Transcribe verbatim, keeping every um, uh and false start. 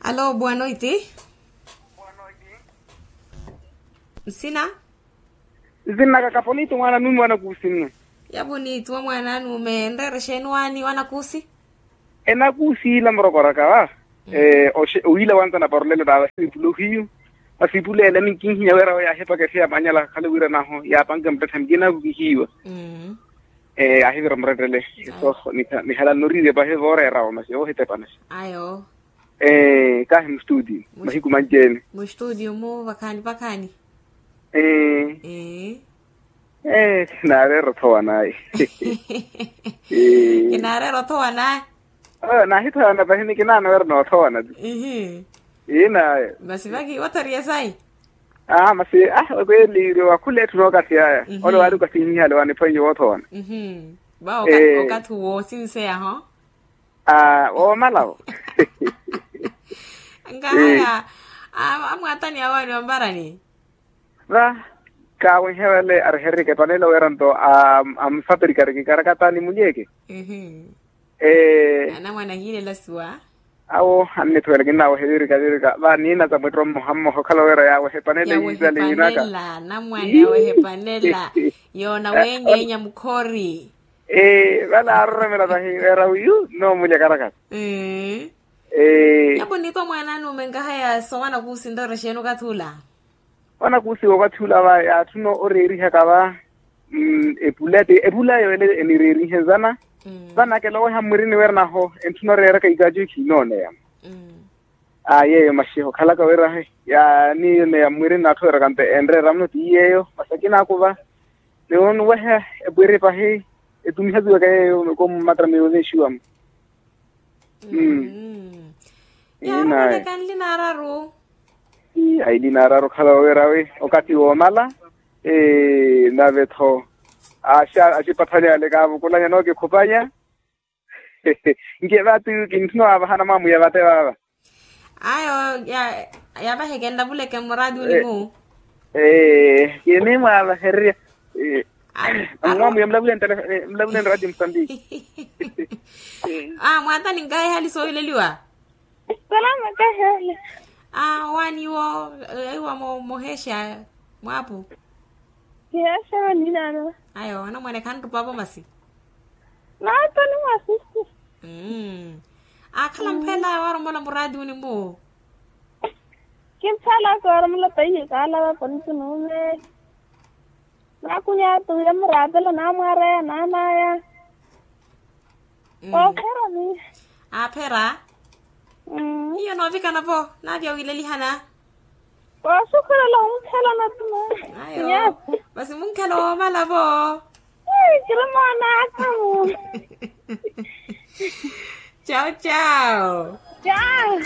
Alo, boa noite. Nsina? Nsinnaka ka ponito mwaana nume wanakuusi nnu. Ya ponito wa mwaana nume nreere xeeni waani wanakuusi? Enakuusi ila murokoraka wa. Owiila wantana parolela taava siipula ohiyu. Masiipula ele minkinhiya wira oyo yaahipakeriha manyala khale wira naho yaapanke muttethe mikinaaku kihiiwa. Yaahivira murettele. So nihala noriirya pahi vooreerawo masi ohitepanaxa. Ayo. Ee kahi mustudio. Mahiku manci-ene. Mustudio mu vakhaani vakhaani. Ee. Ee. Ee. Naareera othowa naye. Ee. Kinaareera othowa naye. Naahithowana pahi ni kinaana wira noothowana ti. Ihi. Ii naye. Masi vakhi wathoriya sayi. Aa masi ah kweli iri wakhula etthu nookathi yaya. Ole waari okathi nhihale waniphwanye woothowana. Vawo okathi woosinseya ho. Aa woomala wo. Nkahaya. Amwaatani awaani omparani. Va kaawenhe vale arihererike epanela wira nto amusaperikariki karakatani mulyeke. Ee. Anamwane ahiilela suwa. Awo annithuwela kinnaawehe virika virika va niina za mwetto mmoha mmoha okhala wira yaawehe epanela yiisale yiinaka. Anamwane awehe epanela. Yoona weenyeenya mukhori. Ee vale aaroromela vahi wira wiyu nnoomulya karakata. Ee. Ee. Yapo nitwa mwaana anume nkahaya sowanakuusi nroore xeeni okathi ula? Wanakuusi wookathi ula va yaatthuna oreerihaka va. Epula ti epula yooleya enireerihe zana. Vanakeloweha mmwirini wira naho entthuna oreeraka ikaacu ekhiinooneya. Aa yeeyo maxi okhalaka wira yaaniineya mmwirini naatthoweraka nto enreera muno ti yeeyo masi akinaaku va. Niwo nuweha epwiri pahi etumihaziwaka yeeyo ko mmatramiro neexiwamo. Yaarumuleka nlina araru. Ailina araru okhala wira wi okathi woomala. Nave-tho axipatthani ale kaavukulanya nookikhupanya. Nkiye vaati kintthuna waavahana mwaamuya vate vaava. Ayo yaavaheke nlavuleke mmuraati uni mu. Ee kini mwaavahererya. Mwaamuya mlavuleni raati musambiki. Mwaatani nkahi hali soohileliwa. Salama kahele. Awaani iwo iwo moheexa mwaapu. Kiheexa waniinano. Ayo anamwane khanrupavo masi. Naatoni mwasisi. Akhala mphela waaromola muraati uni mu. Kimphalaka oromela paiye kaalava ponito nuume. Naakunya tuya muraatela naamwaaraya naanaya. Oophera miyo. Aaphera. Hiyo noovikana vo naavi owiilelihana. Koosukhurela omunkhelana tuna. Ayo. Masi munkhelana woomala vo. Kiri moonaka mu. Chao chao. Chao.